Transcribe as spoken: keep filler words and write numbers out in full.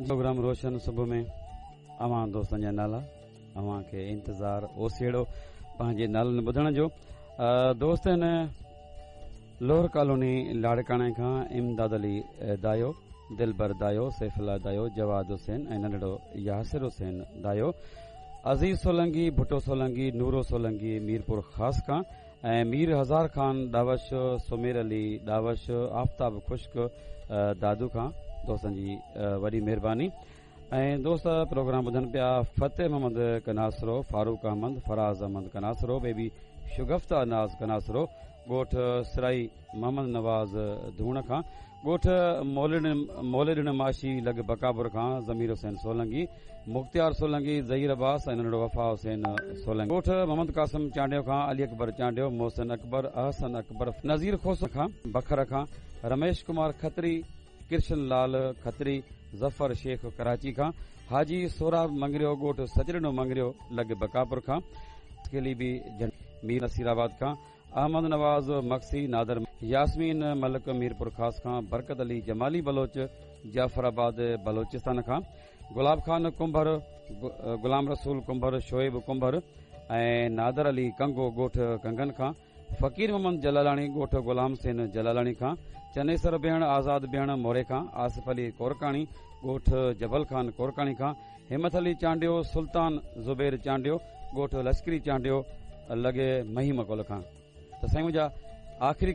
Programme روشن صبح ۾ اوهان دوستن جا نالا، اوهان کي انتظار اوسيڙو پنهنجي نالن ٻڌڻ جو. دوست هن لوهر ڪالوني لاڙڪاڻي کان امداد علي دايو، دلبر دايو، سيف الله دايو، جواد حسين ۽ ننڍڙو ياسر حسين دايو، عزيز سولنگي، ڀٽو سولنگي، نورو سولنگي ميرپور خاص کان ۽ مير هزار خان ڏاوش، سمير علي ڏاوش، آفتاب خشڪ دادو کان دوستن جي وڏي مهرباني. ۽ دوست پروگرام ٻڌن پيا فتح محمد ڪناسرو، فاروق احمد، فراز احمد ڪناسرو، بيبي شگفته ناز ڪناسرو، ڳوٺ سرائي محمد نواز ڌوڻ کان، ڳوٺ موليڏڻ ماشي لڳ بڪابر کان ضمير حسين سولنگي، مختيار سولنگي، ظهير عباس ۽ ننڍڙو وفا حسين سولنگي، ڳوٺ محمد قاسم چانڊيو کان علي اڪبر چانڊيو، محسن اڪبر، احسن اڪبر، نذير کوسو کان بکر کان رميش ڪمار کتري، ڪرشن لال کتري، ظفر شيخ ڪراچي کان، حاجي سهراب منگريو ڳوٺ سچڏنو منگريو لڳ بڪاپور کان، کيلي به مير نصير آباد کان، احمد نواز مگسي، نادر ياسمين ملڪ ميرپور خاص کان، برڪت علي جمالي بلوچ جعفر آباد بلوچستان کان، گلاب خان ڪنڀر، غلام رسول ڪنڀر، شعيب ڪنڀر ۽ نادر علي ڪنگو ڳوٺ ڪنگن کان، فقير محمد جلالاڻي ڳوٺ غلام حسين جلالاڻي کان، چنيسر بيهڻ، آزاد بيهڻ موري کان، آصف علي ڪورڪاڻي ڳوٺ جبل خان ڪورڪاڻي کان، همت علي چانڊيو، سلطان زبير چانڊيو ڳوٺ لشڪري چانڊيو لڳي مهيم ڪول کان. ته سائين منهنجا آخري